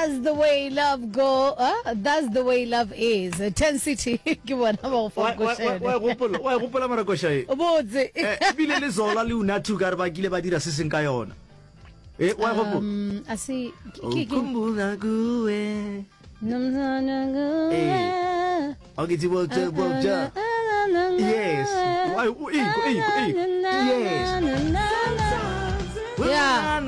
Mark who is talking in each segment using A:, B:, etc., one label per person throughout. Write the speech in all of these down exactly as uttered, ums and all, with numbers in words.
A: That's the way love go. Uh, that's the way love is. Ten City ke bona ba go fa košene.
B: Wa gopola, wa gopola mara koša e.
A: Botse.
B: Eh, ebile le Zola le Unathu ka re ba kile ba dira se seng ka yona. Eh, wa gopola.
A: Um, a se ke ke
B: Ukhumbula kuwe.
A: ke.
B: Eh. Okay, tsebo tsebo ja. Yes. Wa o e e e. Yes.
A: Yeah.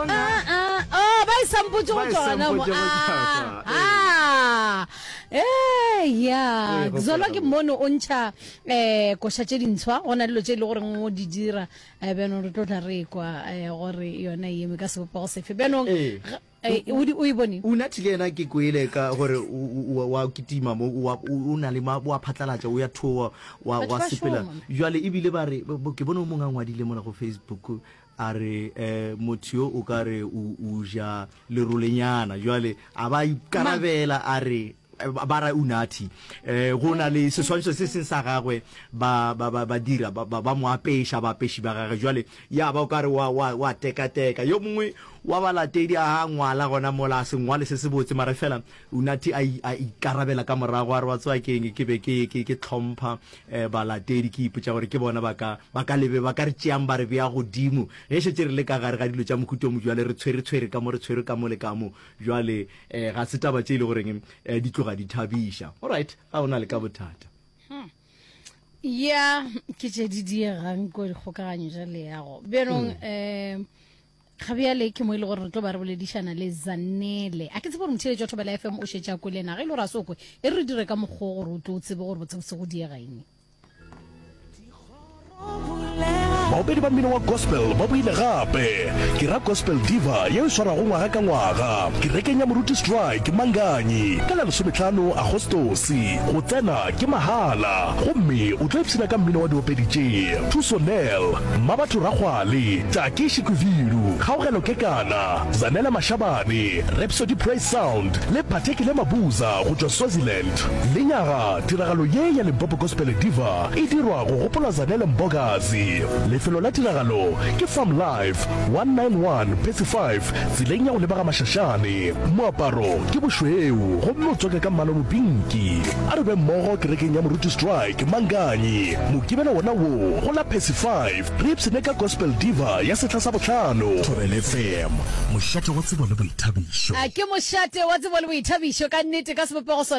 A: Ah, ah, oh, ba e sampotse go
B: Ba e
A: tsona mo.
B: sampotse go
A: Ah,
B: tsona,
A: ah. Eh, ya.
B: O e gopola
A: Zola ke
B: gabotse.
A: mono o ntšha eh koša tše dintshwa go na le dilo tše e le goreng o di dira eh bjanong re tlo tla re kwa eh gore yona e eme ka sebopego sefe bjanong
B: Ee.
A: ga- eh, o di- o e bone
B: Unathi le yena ke kwele ka gore o- o o- wa kitima mo o wa- o o na le ma wa phatlalatša o ya thoa wa
A: Batho
B: wa
A: ba
B: sepela
A: šoma.
B: jwale ebile ba re bo- ke bone o mongwe a ngwadile mola go Facebook a re eh motho yo o ka re o o ja lerolenyana jwale a ba ikarabela a re eh, ba ra Unathi eh go na le seswantšho se seng sa gagwe ba ba ba ba dira ba ba ba mo apeša baapeši ba gagwe jwale ya ba o ka re wa wa wa tekateka yo mongwe wa balatedi a ngwala gona mola a se ngwale se se botse mara fela Unathi a i- a ikarabela ka morago a re wa tseba keng ke be ke ke ke tlhompha eh, balatedi ke ipotša gore ke bona ba ka ba ka lebe ba ka re tšeang ba re bea godimo ge šetše re le ka gare ga dilo tša mohuta o mo jwale re tshwere tshwere ka mo re tshwere ka mo le ka mo jwale eh, ga se taba tše e le goreng eh, di tloga di thabiša alright ga o na le ka bothata
A: ya ke tše di diegang ko dikgokaganyo tša leago bjanong um ga bjale ke mo e le gore re tlo ba re boledišana le Zanele a ke tsebe gore motheeletši wa Thobela FM o šetše a kwele na ge e le gore a se o kwe e re re dire ka mokgwa o gore o tlo o tsebe gore botsebotse go diega eng
C: Baopedi ba mmino wa gospel ba boile gape. Ke ra Gospel Diva yeo e swarwago ngwaga ka ngwaga kerekeng ya Moruti Strike Manganyi ka la lesomehlano Agostose. Go tsena ke mahala gomme o tlo ipshina ka mmino wa diopedi tše Thuso Nel, Mmabatho Rakgwale, Taki Shikwivilu, Kgaogelo Kekana, Zanele Mashabane, Rhapsody Praise Sound le Phathekile Mabuza go tšwa Swaziland. Lenyaga tiragalo ye ya Limpopo Gospel Diva e dirwa go gopola Zanele Mbokazi. Lefelo la tiragalo ke Farm Life one nine one Percy five tseleng ya go leba ga Mashashane. Moaparo ke bošweu gomme o tswake ka mmala o mopinki. A re be mmogo kerekeng ya Moruti Strike Manganyi Mokibelo wona wo go la Percy five re ipshine ka Gospel Diva ya sehla sa bohlano.
D: Thobela F M, mošate wa tsebo le boithabišo.
A: A ke mošate wa tsebo le boithabišo ka nnete ka sebopego sona.